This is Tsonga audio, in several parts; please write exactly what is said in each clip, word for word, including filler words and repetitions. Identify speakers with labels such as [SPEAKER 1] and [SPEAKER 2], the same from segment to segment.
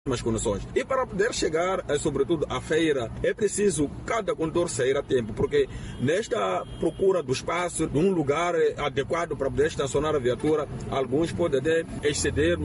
[SPEAKER 1] Condições. E para poder chegar, sobretudo, à feira, é preciso cada condutor sair a tempo, porque nesta procura do espaço, de um lugar adequado para poder estacionar a viatura, alguns podem até exceder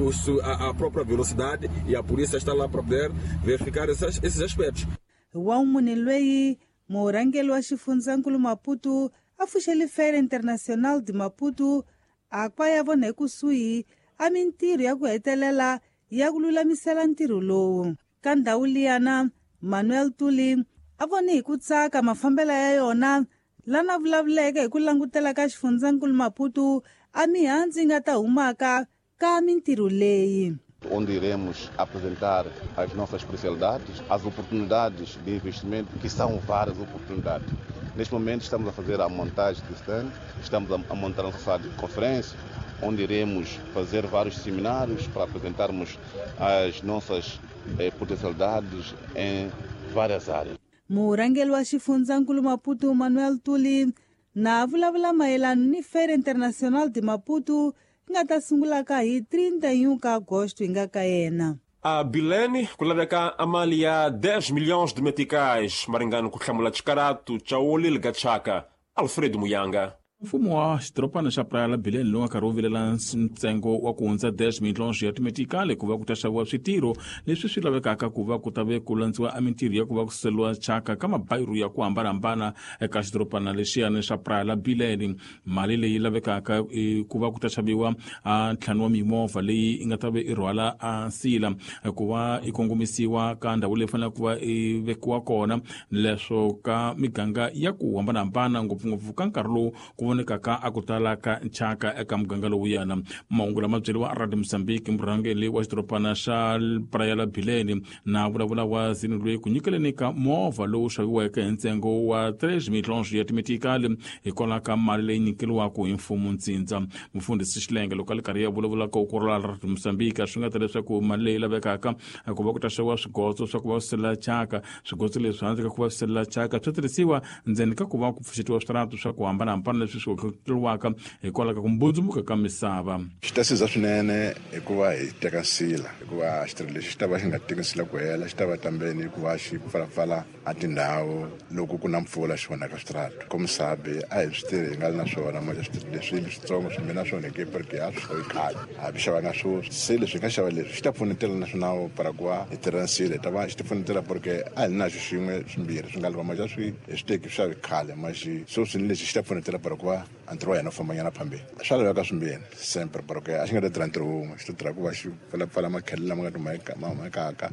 [SPEAKER 1] a própria velocidade e a polícia está lá para poder verificar esses, esses aspectos.
[SPEAKER 2] Wa loyi murhangeri wa xifundzankulu Maputo a pfuxele Feira Internacional de Maputo a kwa ya vona ekusuhi a mintirho ya ku hetelela ya ku lulamisela ntirho lowu. Ka ndhawu liyana Manuel Tuli a vone hi ku tsaka mafambelo ya yona lana vulavuleke hi ku langutela ka xifundzankulu Maputo a mihandzu yi nga ta humaka ka mintirho leyi.
[SPEAKER 3] Onde iremos apresentar as nossas especialidades, as oportunidades de investimento, que são várias oportunidades. Neste momento estamos a fazer a montagem de stand, estamos a montar a nossa sala de conferência, onde iremos fazer vários seminários para apresentarmos as nossas eh, potencialidades em várias áreas.
[SPEAKER 2] Murhangeri wa xifundzankulu Maputo Manuel Tuli na vulavula mayelana ni Feira Internacional de Maputo nga ta sungulaka hi trinta e um ka agosto hi nga ka yena.
[SPEAKER 4] A Bilene ku laveka a mali ya dez milhões de meticais, maringano ku hlamula xikarato Chaoli Ligachaka, Alfredo Muyanga.
[SPEAKER 5] Mfumo wa xidorobana xa Praia la Bilene lowu nga karhi wu vilela ntsengo wa ku hundza dez milhões ya timetikali ku va ku ta xaviwa switirho leswi swi lavekaka ku va ku ta ve ku landziwa a mintirho ya ku va ku suseliwa thyaka ka mabayiro ya ku hambanahambana eka xidorobana lexiyani xa Praia la Bilene. Mali leyi lavekaka ku va ku ta xaviwa a ntlhanu wa mimovha leyi yi nga ta ve i rhwala a nsila ku va i kongomisiwa ka ndhawu leyi faneleke ku va i vekiwa kona leswo ka miganga ya ku hambanahambana ngopfungopfu ka nkarhi lowu ku vonekaka a ku tala ka nchaka eka muganga lowuyana. Mahungu lama byeriwa Radio Mozambique murhangeri wa xidorobana xa Praia la Bilene na vulavula wa zini loyi ku nyikeleni ka movha lowu xaviweke hi ntsengo wa três milhões ya timetikali hikwalaho ka mali leyi nyikeriwaka hi mfumo ntsindza. Mufundhisi Xilenge loko a li karhi ya vulavula ka ukurula Radio Mozambique swi nga ta leswaku mali leyi lavekaka ku va ku ta xaviwa swigotso swa ku va swi thyaka, swigotso leswi handle ka ku va swi thyaka swi tirhisiwa ndzeni ka ku va ku pfuxetiwa switarata swa ku hambanahambana leswi swi tluriwaka hikwalaho ka ku mbundzumuka ka misava.
[SPEAKER 3] Xi ta siza swinene hikuva hi teka nsila, hikuva xitirho lexi xi ta va xi nga teki nsila ku hela, xi ta va tambeni hikuva xi pfalapfala a tindhawu loko ku na mpfula xi onhaka switarata. Komisabi a hi swi tirhi hi nga ri na swona ma switirho leswi switsongo swi mina swona hi porque a swi khale a swi xavanga sweswi. Se leswi hi nga xava leswi xi ta pfunetela na swona para ku va hi tirha nsila, hi ta va xi ti pfunetela porque a hi na xo xin'we swimbirhi swi nga lava ma xa swi hi swi teki swi xavi khale ma xi sweswi ni lexi xi ta pfunetela para ku va a ntirho wa hina wu fambanyana phambeni. Swa laveka swimbirhi sempre porque a xi nga ta tirha ntirho wun'we, xi ta tirha ku va xi pfalapfala makhele lama nga tumakaka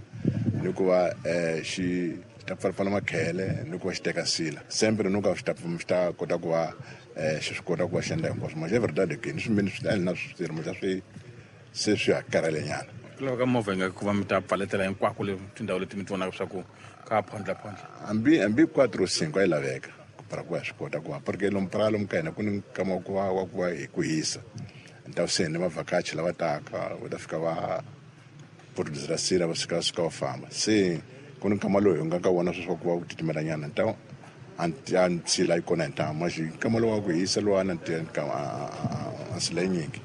[SPEAKER 3] ni ku va xi ta pfalapfala makhele ni ku va xi teka nsila sempre no ka xi ta xi ta kota ku va xi swi kota ku va xi endla hinkwaswo. Ma xa verdade ke ni swimbirhi swi na swi tirho ma xa swi se swi ha karhalenyana.
[SPEAKER 5] Ku laveka movha yi nga ku va mi ta pfaletela hinkwako le tindhawu leti mi ti vonaka swa ku ka phondla phondla.
[SPEAKER 3] Hambi hambi quatro cinco a yi laveka para ku va swi kota ku va porque lomu Praia lomu ka hina ku ni nkama wa ku va wa ku va hi ku hisa ni se ni vavhakachi lava taka va ta fika va producer sila va suka suka va famba se ku ni nkama lowu hi nga ka wona sweswi wa ku va ku titimelanyana ni ta a nsila yi kona hi ntamu ma xi nkama lowu wa ku hisa luwana a nsila yi nyingi.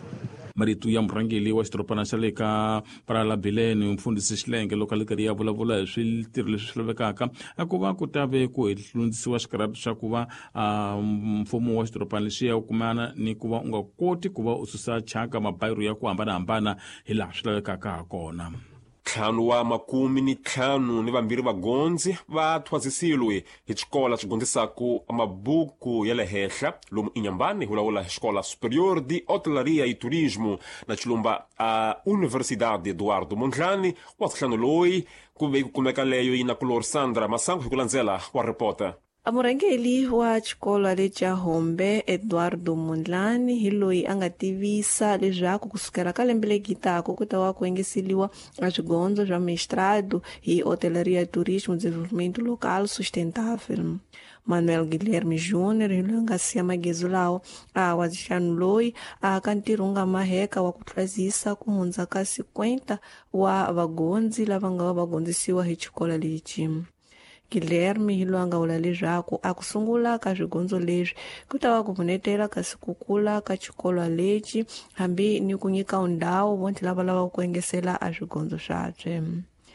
[SPEAKER 5] Marito ya murhangeri wa xidorobana xa le ka Praia la Bilene mufundhisi Xilenge loko a li karhi ya vulavula hi switirho leswi swi lavekaka a ku va ku ta ve ku hundzisiwa xikarhati xa ku va mfumo wa xidorobana lexiya u kumana ni ku va u nga koti ku va u susa thyaka mabayiro ya ku hambanahambana hi laha swi lavekaka ha kona.
[SPEAKER 4] Ntlhanu wa makumi ni ntlhanu ni vambirhi vagondzi va thwasisiwe hi xikola xi gondzisaku mabuku ya le henhla lomu Inhambane hi lawula Escola Superior de Hotelaria e Turismo na xilumba a Universidade Eduardo Mondlane wa ntlhanu loyi ku ve ku kumeka leyo yi na kulor Sandra Masango hi ku landzela wa reporter.
[SPEAKER 6] A murhangeri wa xikolo lexa Hombe Eduardo Mondlane hi loyi a nga tivisa leswaku kusukela ka lembe leri taka ku ta va ku engeseliwa a swigondzo swa mestrado hi Hotelaria e Turismo Desenvolvimento Local Sustentável. Manuel Guilherme Júnior hi loyi a nga siya magezu lawa a wa ntlhanu loyi a ka ntirho wu nga maheka wa ku thwasisa ku hundza ka cinquenta wa vagondzi lava nga va va gondzisiwa hi xikolo lexi. Guilherme hi loyi a nga vula leswaku a ku sungula ka swigondzo leswi ku ta va ku pfunetela kasi ku kula ka xikolo lexi hambi ni ku nyika ndhawu vontlhe lava lavaka ku engesela a swigondzo swabye.